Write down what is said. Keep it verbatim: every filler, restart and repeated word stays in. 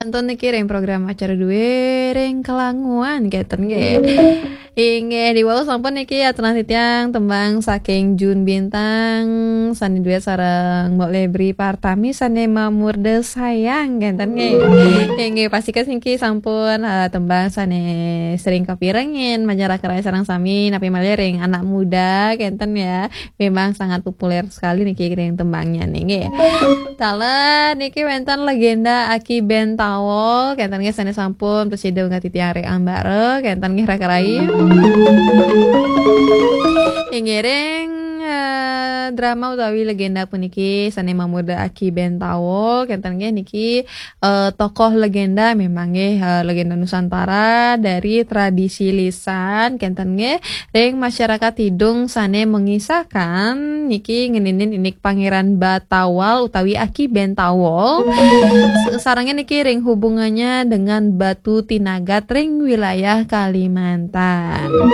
Nonton niki ring program acara duwe ring Kelanguan kenten nggih. Inggih, diwau sampun niki aturang titiang tembang saking Jun Bintang sane duet sareng Mbok Lebri Partami sane mamurda sayang kenten nggih. Inggih, pastika niki sampun eh, tembang sane sering kapirengin masyarakat sareng sami napi malih ring anak muda kenten ya. Memang sangat populer sekali niki ring tembangnya nih nggih. Taler niki wenten legenda Aki Ben Tawol kenten nggih sane sampun prasida ngatitiang ring ambara kenten nggih raka rai. Inggih ring eh, drama utawi legenda puniki sane mamurda Aki Ben Tawol kenten nggih niki eh, tokoh legenda memang nggih eh, legenda Nusantara dari tradisi lisan kenten nggih ring masyarakat Tidung sane mengisahkan niki ngeninin indik Pangeran Batawal utawi Aki Ben Tawol. S- sarengin niki ring hubungannya dengan Batu Tinagat ring wilayah Kalimantan.